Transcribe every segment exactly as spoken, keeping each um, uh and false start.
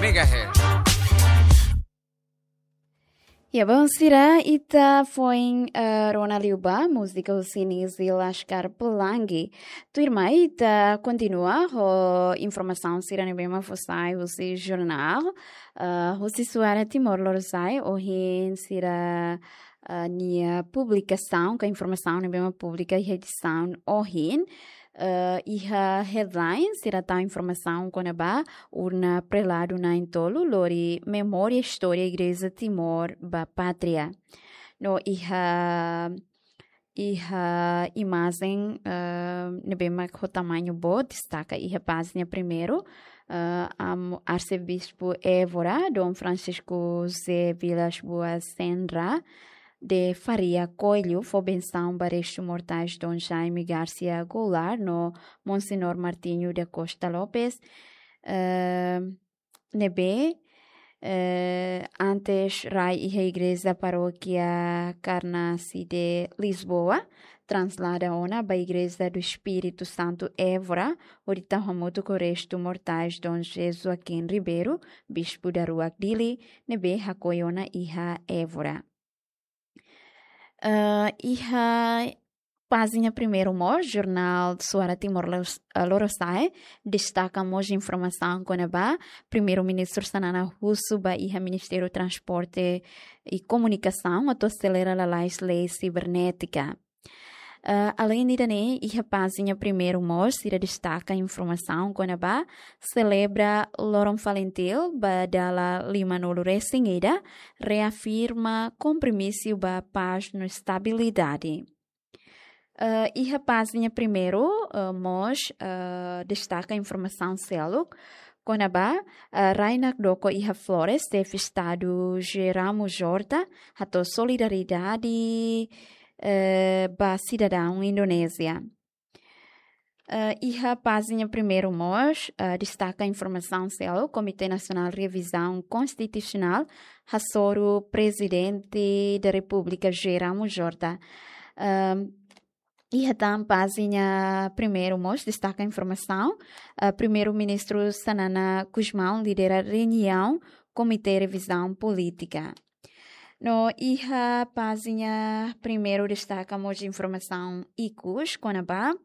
Megahertz. Ya, bom, sira, ita foin, eh, rona liu ba múzika husi Nizzy Laskar Pelangi. Tuirmai ita kontinua ho informasaun sira ne'ebé mak fó sai husi jornál, eh, husi Suara Timor Lorosa'e, ohin sira, eh, nia publikasaun, ka informasaun ne'ebé mak publika iha edisaun ohin, eh, iha headline sira tau informasaun kona-ba urna preladu na'in-tolu lori memória istória Igreja Timor ba Pátria. No iha, iha imajen, eh, ne'ebé mak ho tamañu boot, destaka iha pájina primeiru, eh, am-, Arsebispu Évora, Dom Francisco José Vilas Boas Sendra de Faria Coelho, fó bensaun ba restu mortais Dom Jaime Garcia Goulart no Monsenhor Martinho da Costa Lopes, eh, ne'ebé, eh, antes rai iha Igreja Parókia Karnasi de Lisboa, traslada ona ba Igreja do Espírito Santo Évora, hodi tau hamutuk ho restu mortais Dom José Joaquim Ribeiro, Bispu daruak Dili, ne'ebé hakoi ona iha Évora. Eh, iha pájina primeiru mós, jornál Suara Timor Los-, eh, Lorosa'e, destaka mós informasaun kona-ba Primeiru-Ministru Xanana husu ba iha Ministériu Transporte i Komunikasaun atu aselera lalais lei sibernétika. Eh, aleinde ida-ne'e, iha pájina primeiru mós sira destaka informasaun kona-ba selebra Loron Falintil ba dala lima-nulu resin ida, reafirma kompromisu ba pás no estabilidade. Eh, iha pájina primeiru, eh, mós, eh, destaka informasaun seluk kona-ba, eh, rai nakdoko iha Flores, Xefe Estadu José Ramos Horta hato'o solidariedade, eh, ba sidadaun Indonézia. Eh, iha pájina primeiru mós, eh, destaka informasaun seluk, Komité Nasionál Revizaun Konstitusionál hasoru Prezidente da Repúblika José Ramos Horta. Ehm, iha tan pájina primeiru mós destaka informasaun, eh, Primeiru-Ministru Xanana Gusmão lidera reuniaun Komité Revizaun Polítika. No iha pájina primeiru destaka mós informasaun ikus kona-ba,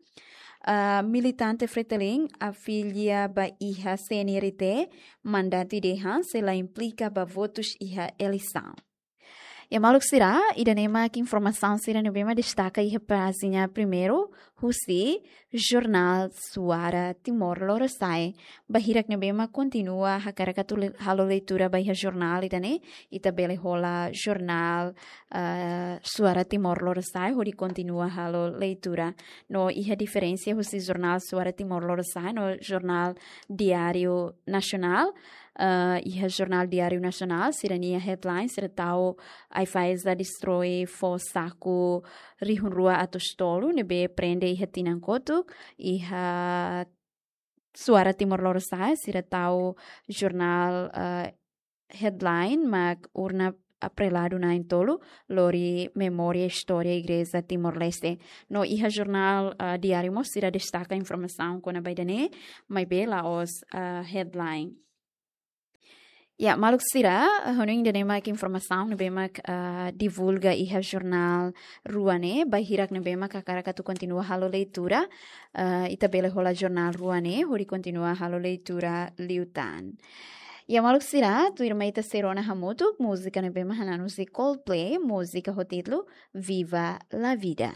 ah, militante Fretilin afilia ba iha C N R T, mandatu ida dehan sei la implika ba votus iha eleisaun. Ya, maluk sira, ida-ne'e mak informasaun sira ne'ebé mak destaka iha pájina primeiru husi jornál Suara Timor Lorosa'e. Ba hirak ne'ebé mak kontinua hakarak atu le-, halo leitura ba iha jornál ida-ne'e, ita bele hola jornál, eh, Suara Timor Lorosa'e hodi kontinua halo leitura. No iha diferensa husi jornál Suara Timor Lorosa'e no jornál Diário Nacional, eh, iha jornál Diário Nacional, sira-nia headline, sira tau AIFAESA destrói fó saku rihun rua atus tolu ne'ebé prende iha tinan kotuk, iha Suara Timor Lorosa'e, sira tau jornál, eh, headline mak urna preladu na'in-tolu lori memória istória Igreja Timor-Leste. No iha jornál, eh, Diário mós sira destaka informasaun kona-ba ida-ne'e, maibé la'ós, eh, headline. Ya, maluk sira, eh, hanoin ida-ne'e mak informasaun ne'ebé mak, eh, divulga iha jornál rua ne'e, ba hirak ne'ebé mak hakarak atu kontinua halo leitura, eh, ita bele hola jornál rua ne'e hodi kontinua halo leitura liután. Ya, maluk sira, tuirmai ita sei rona hamutuk múzika ne'ebé mak hananu husi Coldplay, múzika ho títulu Viva la Vida.